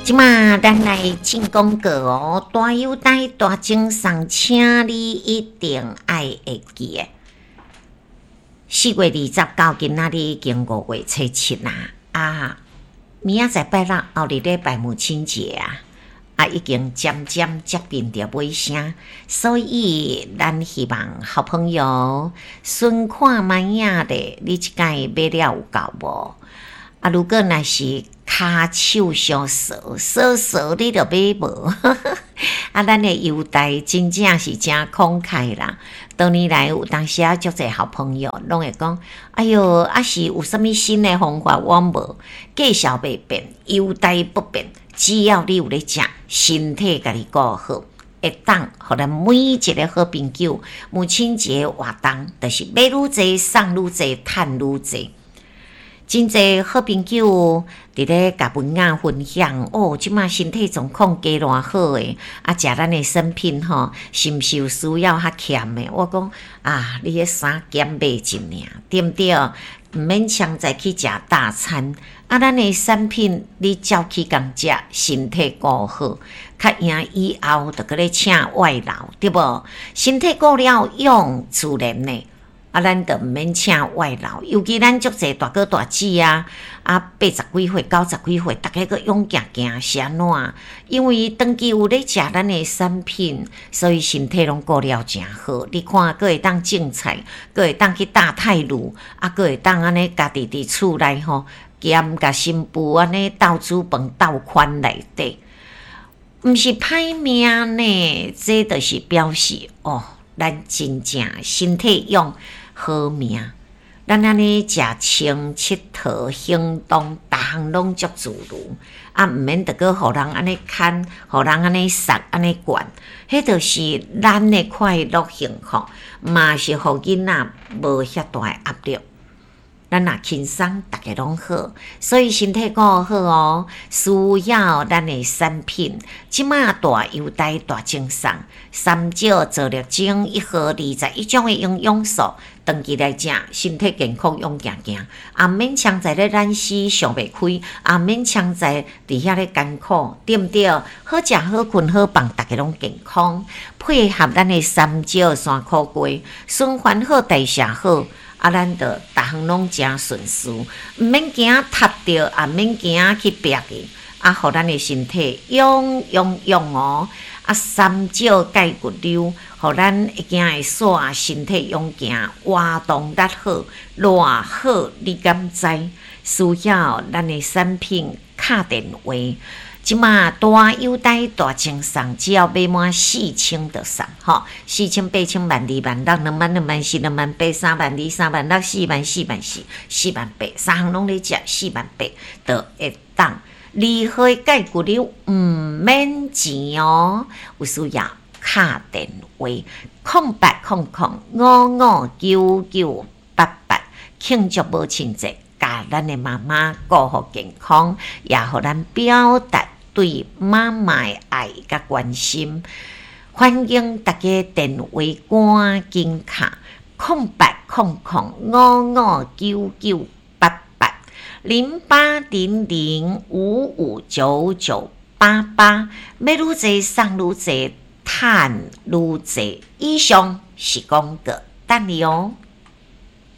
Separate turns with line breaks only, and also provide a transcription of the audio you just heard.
這馬咱來進廣告哦，大優待大贈送，請你一定愛會記得。4月20到今仔日已經5月初7啦，啊，明仔載拜六後日禮拜母親節啊，啊已經漸漸接近著尾聲，所以咱希望好朋友順看覓仔咧，你這擺買了有夠無？啊，如果若是跤手傷趖，趖趖你就買無。啊，咱的優待真正是誠慷慨啦。多年來有當時啊，足濟好朋友攏會講：哎喲，啊是有啥物新的方法，我無介紹袂變，優待不變。只要你有咧食，身體家己顧好，會當予咱每一个好朋友母親節活動，就是買愈濟送愈濟，趁愈濟。真濟好朋友佇咧共文雅分享哦，這馬身體狀況加偌好的，啊，食咱的產品吼，是毋是有需要較儉的？我講啊，你彼衫減買一領，對毋對？毋免強在去食大餐，啊，咱的產品你照起工食，身體顧好，較贏以後就閣咧請外勞，對無？身體顧了養自然的。啊，咱就毋免請外勞，尤其咱足濟大哥大姊啊，啊，80幾歲、90幾歲，逐家閣勇行行是按怎？因為長期有咧食咱的產品，所以身體攏顧了誠好。你看，閣會當種菜，閣會當去搭太魯，啊，閣會當按呢家己佇厝內吼，兼共新婦按呢鬥煮飯、鬥款內底，毋是歹命呢，這就是表示哦，咱真正身體用好命，咱按呢食穿𨑨迌行動，逐項攏足自如，啊，毋免著閣予人按呢牽，予人按呢捒，按呢管，彼就是咱的快樂幸福，嘛是予囡仔無遐大的壓力。咱若輕鬆，逐家攏好，所以身體顧好哦，需要咱的產品。這馬大優待大贈送，三少皂綠精一盒21種的營養素，長期來食，身體健康勇行行，也免常在咧懶死想袂開，也免常在佇遐咧艱苦，對毋對？好食好睏好放，逐家攏健康。配合咱的三少山苦瓜，循環好，代謝好。啊，咱就逐項攏誠順遂，毋免驚踢著，也免驚去煏去，啊，予咱的身體勇勇勇哦！啊，三少鈣骨溜，予咱會行會煞，身體勇健，活動力好，偌好，你敢知？需要咱的產品敲電話。這馬大優待大贈送，只要買滿4000就送吼，4000、8000、1萬2、1萬6、2萬、2萬4、2萬8、3萬2、3萬6、4萬、4萬4、4萬8，三項攏咧食，4萬8就會當。二號鈣骨溜毋免錢哦，有需要敲電話0800559988，慶祝母親節，共咱的媽媽顧好健康，也予咱表達對媽媽的愛佮關心，歡迎大家電話趕緊敲0800559988 0800559988，買愈濟送愈濟，趁愈濟。以上是廣告，等你哦。